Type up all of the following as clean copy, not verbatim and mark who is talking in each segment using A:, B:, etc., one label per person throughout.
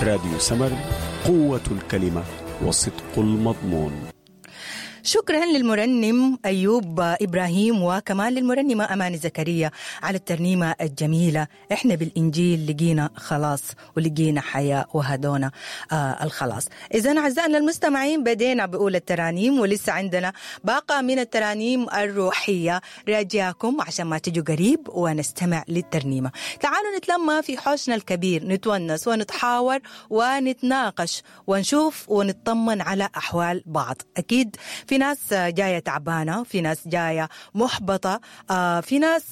A: راديو سمر، قوة الكلمة وصدق المضمون.
B: شكرا للمرنم أيوب إبراهيم وكمان للمرنمة أماني زكريا على الترنيمة الجميلة. إحنا بالإنجيل لقينا خلاص ولقينا حياة وهدونا الخلاص. إذا أعزائنا المستمعين، بدينا بأولى الترانيم ولسه عندنا باقة من الترانيم الروحية راجياكم عشان ما تجوا قريب ونستمع للترنيمة. تعالوا نتلمى في حوشنا الكبير، نتونس ونتحاور ونتناقش ونشوف ونطمن على أحوال بعض. أكيد في ناس جاية تعبانة، في ناس جاية محبطة، في ناس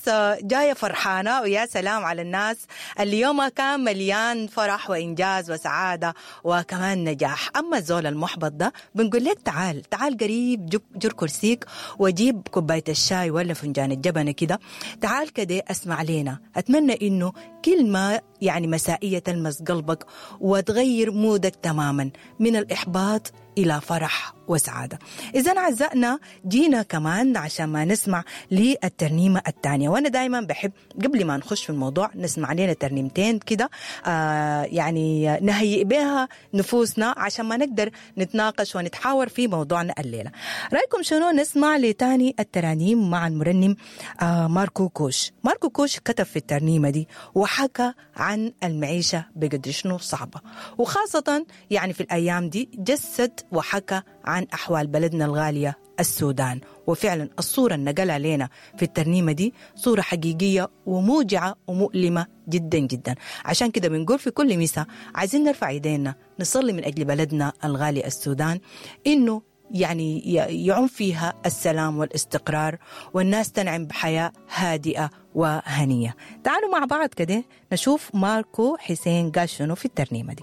B: جاية فرحانة، ويا سلام على الناس اللي يومها كان مليان فرح وإنجاز وسعادة وكمان نجاح. أما الزول المحبط ده بنقول لك تعال تعال قريب، جر كرسيك وجيب كوباية الشاي ولا فنجان الجبنة كده، تعال كده اسمع لينا. أتمنى إنه كلمة يعني مسائية تلمس قلبك وتغير مودك تماما من الإحباط إلى فرح وسعادة. إذا أعزائنا جينا كمان عشان ما نسمع للترنيمة الثانية، وأنا دايما بحب قبل ما نخش في الموضوع نسمع لنا ترنيمتين كده، يعني نهيئ بها نفوسنا عشان ما نقدر نتناقش ونتحاور في موضوعنا الليلة. رأيكم شنو نسمع لتاني الترانيم مع المرنم ماركو كوش؟ ماركو كوش كتب في الترنيمة دي وحكى عن المعيشة بقدر شنو صعبة، وخاصة يعني في الأيام دي جسد وحكى عن أحوال بلدنا الغالية السودان. وفعلا الصورة اللي نقلها لنا في الترنيمة دي صورة حقيقية وموجعة ومؤلمة جدا جدا. عشان كده بنقول في كل مساء عايزين نرفع ايدينا نصلي من أجل بلدنا الغالي السودان، إنه يعني يعم فيها السلام والاستقرار والناس تنعم بحياة هادئة وهنية. تعالوا مع بعض كده نشوف ماركو حسين قال شنو في الترنيمة دي.